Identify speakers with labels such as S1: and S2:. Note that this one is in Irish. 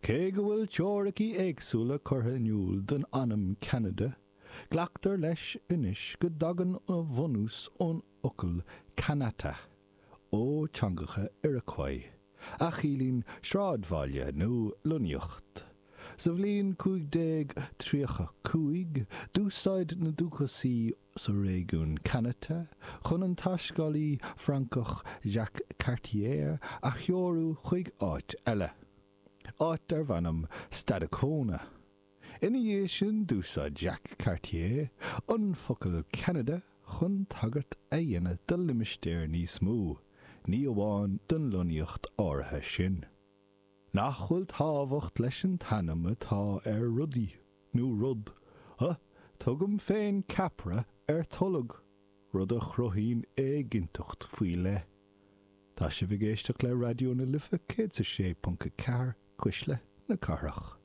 S1: Cé go bhfuil teoiricí éagsúla curtha in iúl don ainm Ceanada, glactar leis anois go dtagann a bhunús ón fhocal Kanata, ó teangacha Iroquois, a chiallaíonn sráidbhaile nó lonnaíocht. Sa bhliain 1535, d'úsáid na dúchasaigh sa réigiún Kanata chun an taiscéalaí Francach Jacques Cartier a threorú chuig áit eile, áit darbh ainm Stadacona. Ina dhiaidh sin d'úsáid Jacques Cartier an focal Ceanada chun tagairt a dhéanamh do limistéar níos mó, ní amháin don lonnaíocht áirithe sin. Nach bhfuil tábhacht leis an t-ainm atá ar rudaí, nó rud, huh? Tugaim féin ceapaire ar tolg, rud a chruthaíonn éiginnteacht faoi leith. Tá sibh ag éisteacht le Raidió na Life 106.4, Cuisle na Cathrach.